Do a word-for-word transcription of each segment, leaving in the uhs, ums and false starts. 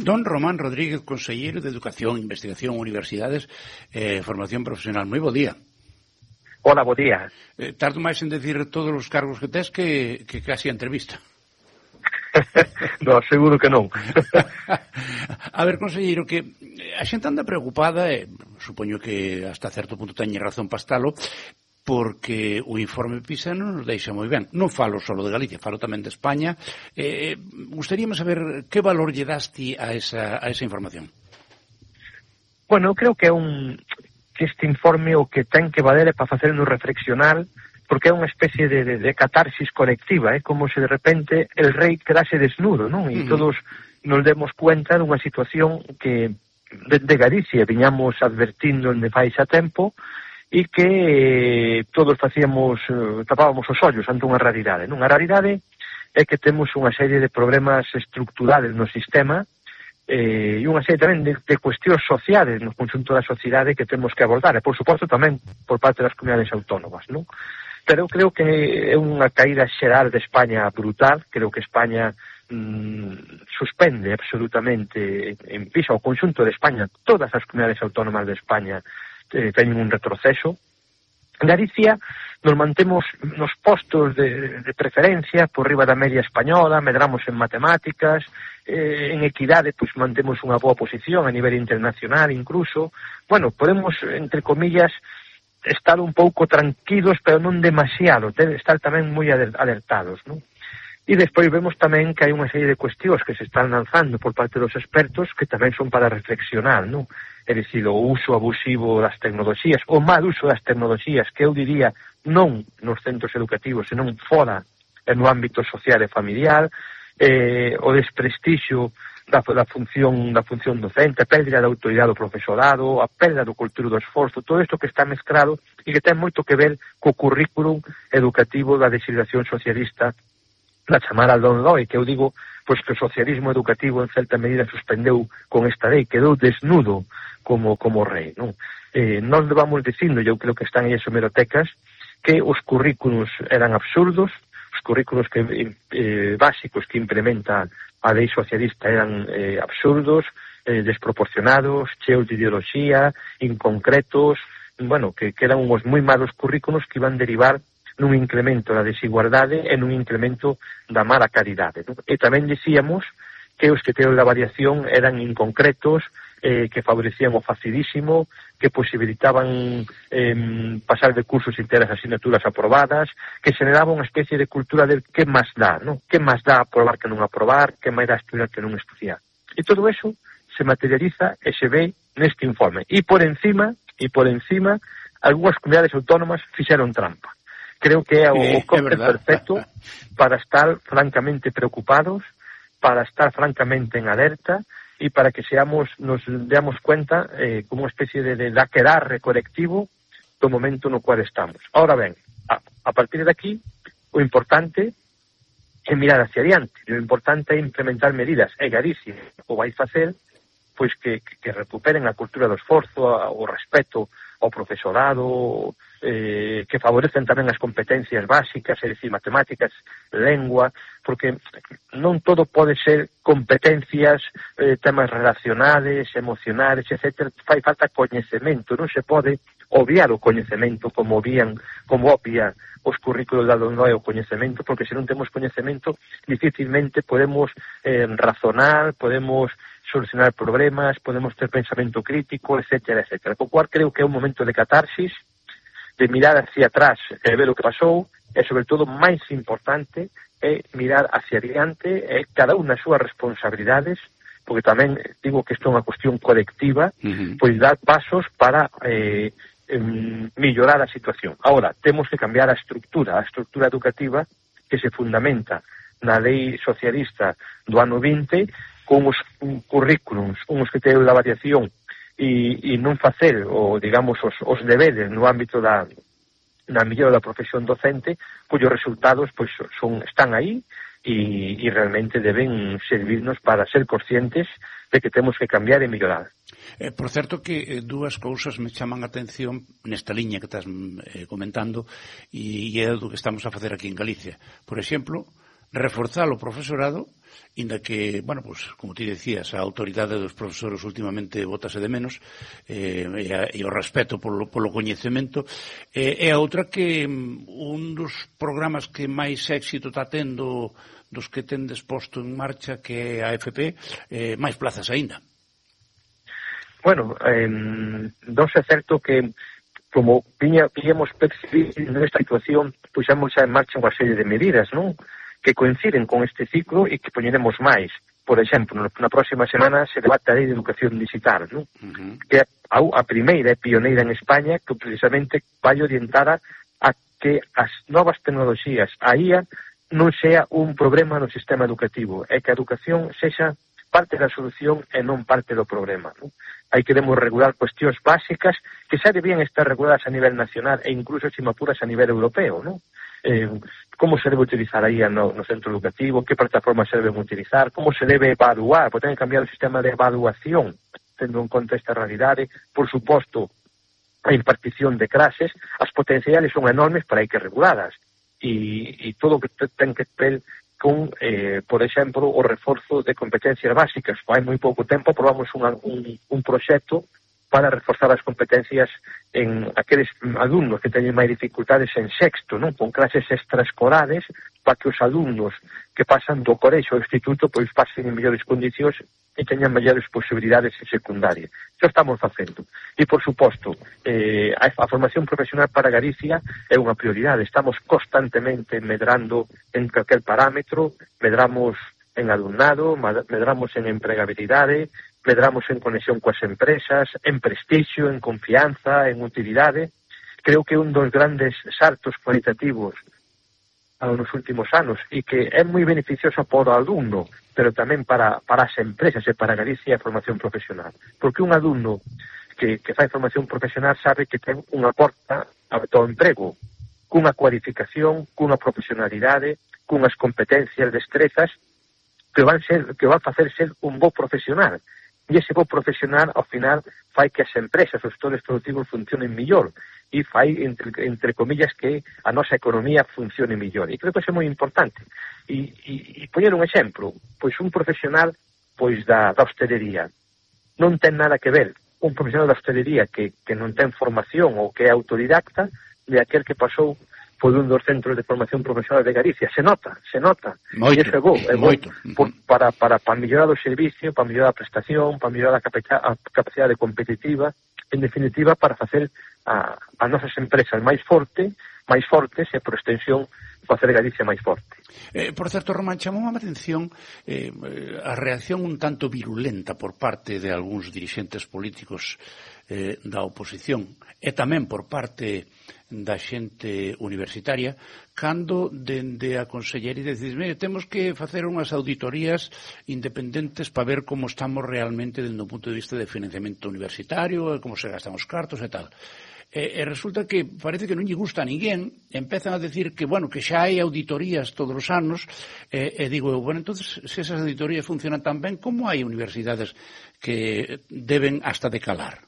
Don Román Rodríguez, conselleiro de Educación, Investigación, Universidades e eh, Formación Profesional. Moi bo día. Hola, bo día. Eh, tardo máis en decir todos os cargos que tes que, que casi a entrevista. No, seguro que non. A ver, conselleiro, que a xente anda preocupada, e supoño que hasta certo punto teñe razón para estalo, porque o informe PISA non nos deixa moi ben. Non falo só de Galicia, falo tamén de España. Eh, gustaríame saber que valor lle daste a esa, a esa información. Bueno, creo que é un que este informe o que ten que valer é para facernos reflexionar, porque é unha especie de, de, de catarsis colectiva, é eh? como se de repente el rei quedase desnudo, non? E uh -huh. todos nos demos cuenta dunha situación que de Galicia viñamos advertindo en de fai xa tempo, e que eh, todos facíamos, eh, tapábamos os ollos ante unha realidade. Non? A realidade é que temos unha serie de problemas estructurales no sistema eh, e unha serie tamén de, de cuestións sociales no conxunto da sociedade que temos que abordar, e por suposto tamén por parte das comunidades autónomas. Non? Pero creo que é unha caída xeral de España brutal. Creo que España mmm, suspende absolutamente en PISA o conxunto de España, todas as comunidades autónomas de España Eh, teñen un retroceso. En Galicia nos mantemos nos postos de, de preferencia por riba da media española, medramos en matemáticas, eh, en equidade pois mantemos unha boa posición a nivel internacional incluso. Bueno, podemos, entre comillas, estar un pouco tranquilos, pero non demasiado, estar tamén moi alertados, non? E despois vemos tamén que hai unha serie de cuestións que se están lanzando por parte dos expertos que tamén son para reflexionar, non? É dicir, o uso abusivo das tecnoloxías, o mal uso das tecnoloxías, que eu diría non nos centros educativos, senón fora no ámbito social e familiar, eh, o desprestixio da, da función da función docente, a pérdida da autoridade do profesorado, a pérdida do cultura do esforzo, todo isto que está mezclado e que ten moito que ver co currículum educativo da legislación socialista, la chamada LOMLOE, que eu digo pois que o socialismo educativo en certa medida suspendeu con esta lei, quedou desnudo como como rei, non? Eh, nós levamos dicindo, eu creo que están aí as hemerotecas, que os currículos eran absurdos, os currículos que eh, básicos que implementa a lei socialista eran eh, absurdos, eh, desproporcionados, cheos de ideoloxía, inconcretos, bueno, que, que eran uns moi malos currículos que iban derivar nun incremento da desigualdade e nun incremento da mala calidade. Non? E tamén dicíamos que os criterios da variación eran inconcretos, eh, que favorecían o facilísimo, que posibilitaban eh, pasar de cursos enteras asignaturas aprobadas, que generaba unha especie de cultura de que máis dá, non? Que máis dá aprobar que non aprobar, que máis dá estudiar que non estudiar. E todo eso se materializa e se ve neste informe. E por encima, e por encima, algunhas comunidades autónomas fixeron trampa. Creo que é o, o cóctel perfecto para estar francamente preocupados, para estar francamente en alerta e para que seamos, nos demos cuenta eh, como unha especie de, de daquedarre colectivo do momento no cual estamos. Ahora ben, a, a partir de aquí, o importante é mirar hacia adiante, o importante é implementar medidas, e Galicia o vai facer, pois que, que, que recuperen a cultura do esforzo, o respeto ao profesorado, eh, que favorecen tamén as competencias básicas, é dicir, matemáticas, lengua, porque non todo pode ser competencias, eh, temas relacionales, emocionales, etcétera. Fai falta coñecemento, non se pode obviar o coñecemento como obvían, como obvia os currículos da LOMLOE o coñecemento, porque se non temos coñecemento dificilmente podemos eh, razonar, podemos solucionar problemas, podemos ter pensamento crítico, etcétera, etcétera. Co cual creo que é un momento de catarsis, de mirar hacia atrás e ver o que pasou, e sobre todo, máis importante, é mirar hacia adiante, e cada unha das súas responsabilidades, porque tamén digo que isto é unha cuestión colectiva, uh-huh. pois dar pasos para eh, mellorar a situación. Ahora, temos que cambiar a estructura, a estructura educativa que se fundamenta na lei socialista do ano vinte, con os currículums, uns criterios da variación e, e non facer, o, digamos, os, os deberes no ámbito da, da mellora da profesión docente, cuyos resultados pois, son, están aí e, e realmente deben servirnos para ser conscientes de que temos que cambiar e mellorar. Eh, por certo que eh, dúas cousas me chaman a atención nesta liña que estás eh, comentando e, e é do que estamos a facer aquí en Galicia. Por exemplo, reforzar o profesorado, inda que, bueno, pues, como ti decías, a autoridade dos profesores últimamente bótase de menos, eh, e, a, e o respeto polo, polo coñecemento, eh, e a outra que un dos programas que máis éxito está tendo dos que tendes posto en marcha, que é a F P, eh, máis plazas aínda. Bueno, eh, non é certo que como viña, viñamos percibir nesta situación, puxamos xa en marcha unha serie de medidas, non? Que coinciden con este ciclo e que poñeremos máis. Por exemplo, na próxima semana se debate a lei de educación digital, non? Uh-huh. Que a, a primeira e pioneira en España que precisamente vai orientada a que as novas tecnoloxías, a I A, non sea un problema no sistema educativo, é que a educación sexa parte da solución e non parte do problema, non? Aí queremos regular cuestións básicas que xa debían estar reguladas a nivel nacional e incluso, se me apuras, a nivel europeo, non? Eh, como se debe utilizar a I A no, no centro educativo, que plataformas se deben utilizar, como se debe evaluar, porque ten que cambiar o sistema de evaluación, tendo en conta esta realidade. Por suposto, a impartición de clases, as potenciales son enormes para hai que reguladas, e, e todo o que ten que ver con, eh, por exemplo, o reforzo de competencias básicas. Hai moi pouco tempo aprobamos unha, un, un proxecto para reforzar as competencias en aqueles alumnos que teñen máis dificultades en sexto, non? Con clases extraescolares, para que os alumnos que pasan do colexo ao instituto pois pasen en mellores condicións e teñan mellores posibilidades en secundaria. Iso estamos facendo. E, por suposto, eh, a, a formación profesional para Galicia é unha prioridade. Estamos constantemente medrando en calquer parámetro, medramos en alumnado, medramos en empregabilidade, medramos en conexión coas empresas, en prestixio, en confianza, en utilidade. Creo que un dos grandes saltos cualitativos nos últimos anos e que é moi beneficioso para o alumno, pero tamén para, para as empresas e para Galicia a formación profesional. Porque un alumno que, que fai formación profesional sabe que ten unha porta ao emprego, cunha cualificación, cunha profesionalidade, cunhas competencias, destrezas, que van ser que van facer ser un bo profesional. E ese bo profesional, ao final, fai que as empresas, os sectores productivos funcionen millor e fai, entre, entre comillas, que a nosa economía funcione millor. E creo que iso é moi importante. E, e, e poñer un exemplo, pois un profesional pois da, da hostelería non ten nada que ver un profesional da hostelería que, que non ten formación ou que é autodidacta de aquel que pasou por un dos centros de formación profesional de Galicia. Se nota, se nota. Moito, e iso é bo, é bo moito. por, para, para, para mellorar o servicio, para mellorar a prestación, para mellorar a, capa- a capacidade competitiva, en definitiva, para facer a, a nosas empresas máis forte, máis fortes e, por extensión, facer Galicia máis forte. Eh, por certo, Román, chamou a atención eh, a reacción un tanto virulenta por parte de algúns dirixentes políticos eh, da oposición e tamén por parte da xente universitaria cando dende a consellería dices, mire, temos que facer unhas auditorías independentes para ver como estamos realmente dende o punto de vista de financiamento universitario, como se gastan os cartos e tal. E, e resulta que parece que non lle gusta a ninguén, empezan a decir que, bueno, que xa hai auditorías todos os anos, e, e digo eu, bueno, entonces, se esas auditorías funcionan tan ben, como hai universidades que deben hasta decalar?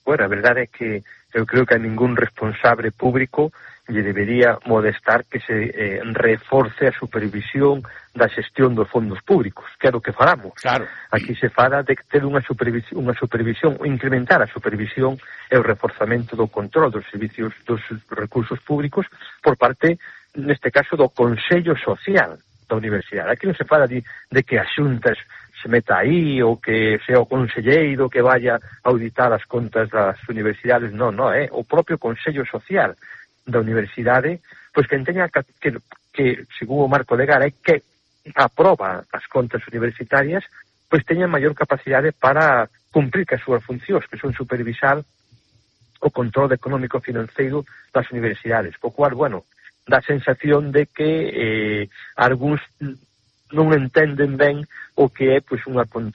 Bueno, a verdade é que eu creo que a ningún responsable público lle debería molestar que se eh, reforce a supervisión da xestión dos fondos públicos, que é o que falamos. Claro. Aquí se fala de ter unha supervisión, unha supervisión, incrementar a supervisión e o reforzamento do control dos servicios dos recursos públicos por parte, neste caso, do Consello Social da Universidade. Aquí non se fala de, de que as xuntas se meta aí ou que sea o conselleiro que vaya a auditar as contas das universidades. Non, non, é o propio Consello Social da Universidade, pois que teña que, que, que según o marco legal, é que aproba as contas universitarias, pois teña maior capacidade para cumprir que as súas funcións, que son supervisar o control económico financeiro das universidades. Po cual, bueno, dá a sensación de que eh, algúns non entenden ben o que é pois unha, un,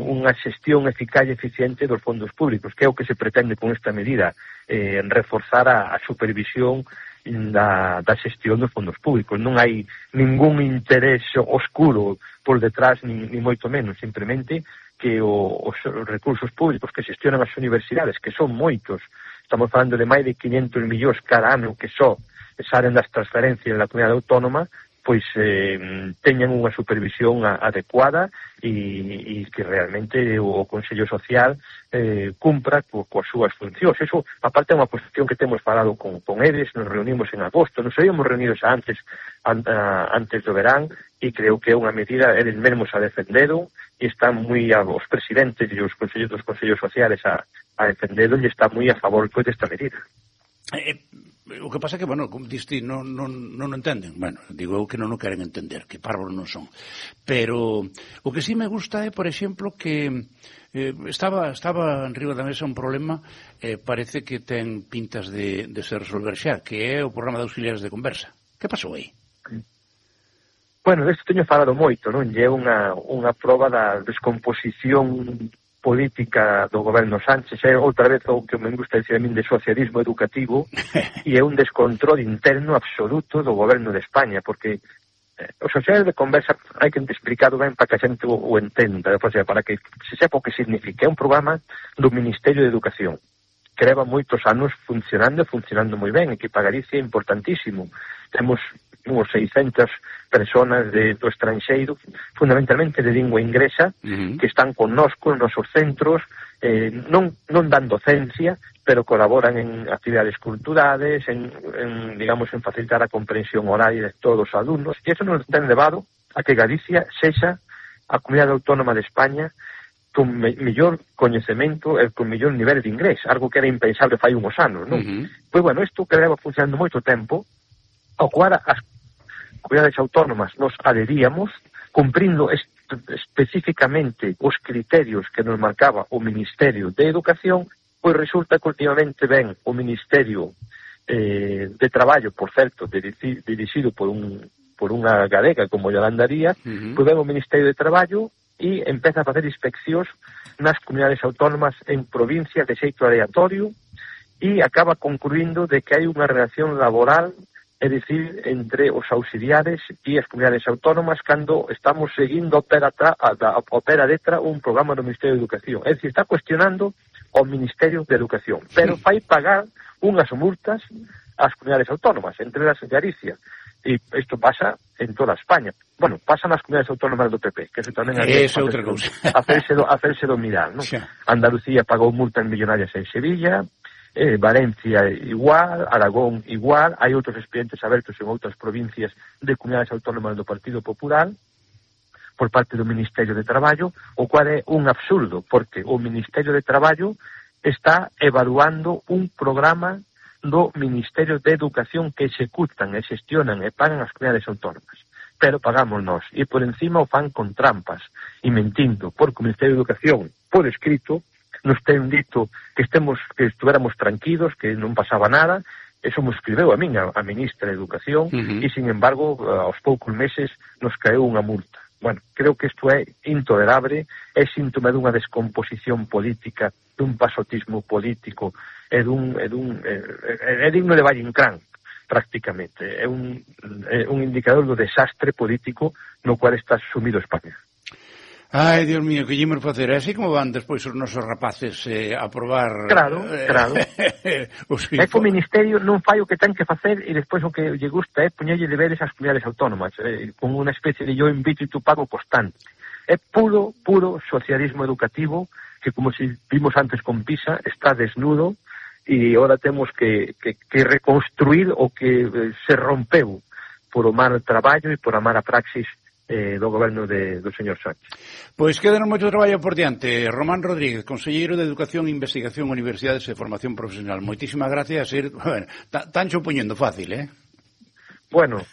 unha xestión eficaz e eficiente dos fondos públicos, que é o que se pretende con esta medida, eh, reforzar a, a supervisión da, da xestión dos fondos públicos. Non hai ningún interés oscuro por detrás, ni, ni moito menos, simplemente que o, os recursos públicos que xestionan as universidades, que son moitos, estamos falando de máis de quinhentos millóns cada ano que só salen das transferencias da comunidade autónoma, pois eh, teñan unha supervisión a, adecuada e, e que realmente o, o Consello Social eh, cumpra co, coas súas funcións. Eso, aparte, é unha cuestión que temos falado con, con eles, nos reunimos en agosto, nos habíamos reunido xa antes, an, a, antes do verán, e creo que é unha medida, eles mesmos a defenderon, e están moi, a, os presidentes e os consellos dos Consellos Sociales a, a defenderon, e está moi a favor pois, desta medida. Eh, o que pasa é que, bueno, como diste, non, non, non entenden. Bueno, digo eu que non o queren entender, que parvos non son. Pero o que sí me gusta é, por exemplo, que eh, estaba estaba en riba da mesa un problema, eh, parece que ten pintas de, de se resolver xa, que é o programa de auxiliares de conversa. Que pasou aí? Bueno, desto teño falado moito, non? E é unha, unha proba da descomposición política do goberno Sánchez, é outra vez o que me gusta dicir a min de socialismo educativo, e é un descontrol interno absoluto do goberno de España, porque eh, os sociales de conversa hai que explicado ben para que a xente o, o entenda, o sea, para que se sepa o que significa. É un programa do Ministerio de Educación, que leva moitos anos funcionando e funcionando moi ben, e que para Galicia é importantísimo. Temos uns seiscentas personas de, do estranxeiro, fundamentalmente de lingua inglesa, uh-huh. que están connosco nos nosos centros, eh, non, non dan docencia, pero colaboran en actividades culturales, en, en, digamos, en facilitar a comprensión horaria de todos os alumnos, e eso nos ten levado a que Galicia sexa a comunidade autónoma de España con me, mellor coñecemento e con mellor nivel de inglés, algo que era impensable fai uns anos, non? Uh-huh. Pois, bueno, isto que leva funcionando moito tempo, ao cual as comunidades autónomas nos adheríamos, cumprindo est especificamente os criterios que nos marcaba o Ministerio de Educación, pois resulta que últimamente ven o Ministerio eh, de Traballo, por certo, dirixido por un por unha galega como Yolanda Díaz, uh-huh. pois ven o Ministerio de Traballo e empeza a facer inspeccións nas comunidades autónomas en provincias de xeito aleatorio e acaba concluindo de que hai unha relación laboral, é dicir, entre os auxiliares e as comunidades autónomas cando estamos seguindo a pera, a, a, a pera letra un programa do Ministerio de Educación. É dicir, está cuestionando o Ministerio de Educación, pero fai pagar unhas multas ás comunidades autónomas, entre elas Galicia. E isto pasa en toda España. Bueno, pasa nas comunidades autónomas do P P, que eso tamén é outra cousa. Hacérselo, hacérselo mirar, non? Sí. Andalucía pagou multas millonarias en Sevilla, Eh, Valencia igual, Aragón igual, hai outros expedientes abertos en outras provincias de comunidades autónomas do Partido Popular por parte do Ministerio de Traballo, o cual é un absurdo, porque o Ministerio de Traballo está evaluando un programa do Ministerio de Educación que executan e xestionan e pagan as comunidades autónomas, pero pagamos nós, e por encima o fan con trampas e mentindo, porque o Ministerio de Educación, por escrito, nos ten dito que estemos que estuéramos tranquilos, que non pasaba nada. Eso me escribeu a min, a, a ministra de Educación, uh-huh. e, sin embargo, aos poucos meses nos caeu unha multa. Bueno, creo que isto é intolerable, é síntoma dunha descomposición política, dun pasotismo político, é dun, é dun, é, é digno de Valle Inclán, prácticamente. É un, é un indicador do desastre político no cual está sumido España. Ai, Dios mío, que llemos facer. Así como van despois os nosos rapaces eh, a probar... Claro, eh, claro. É que o Ministerio non fai o que ten que facer e despois o que lle gusta é poñerlle deberes ás comunidades autónomas, eh, con unha especie de yo invito e tu pago constante. É puro, puro socialismo educativo que, como si vimos antes con PISA, está desnudo e agora temos que, que, que reconstruir o que eh, se rompeu por o mal traballo e por a mala praxis Eh, do goberno de, do señor Sánchez. Pois quedanos moito traballo por diante. Román Rodríguez, conselleiro de Educación, Investigación, Universidades e Formación Profesional. Moitísimas gracias. Ir, bueno, tancho poñendo fácil, eh? Bueno,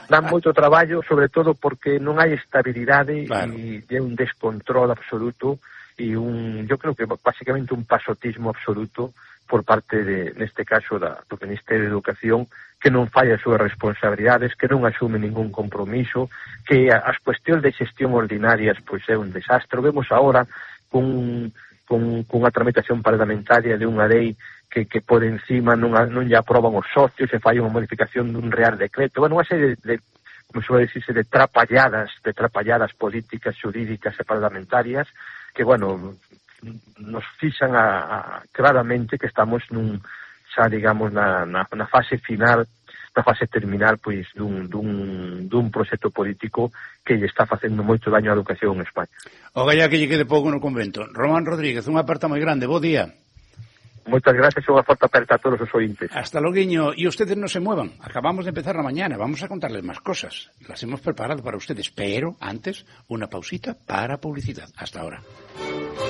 dan moito traballo, sobre todo porque non hai estabilidade, claro. E é un descontrol absoluto e un, yo creo que básicamente un pasotismo absoluto por parte de, neste caso, da, do Ministerio de Educación, que non fai as súas responsabilidades, que non asume ningún compromiso, que as cuestións de xestión ordinarias pois é un desastre. Vemos agora con, con, con a tramitación parlamentaria de unha lei que, que por encima non, non lle aproban os socios, se fai unha modificación dun real decreto. Bueno, unha serie de, de como suele decirse, de trapalladas, de trapalladas políticas, xurídicas e parlamentarias, que, bueno, nos fixan a, a, claramente que estamos nun, xa digamos, na, na, na fase final na fase terminal pois dun, dun, dun proxecto político que lle está facendo moito daño á educación en España. O galla que lle quede pouco no convento. Román Rodríguez, unha aperta moi grande, bo día. Moitas gracias e unha forte aperta a todos os ointes. Hasta loguiño. E ustedes non se muevan. Acabamos de empezar na mañana. Vamos a contarles máis cosas. Las hemos preparado para ustedes. Pero, antes, unha pausita para publicidad. Hasta ahora.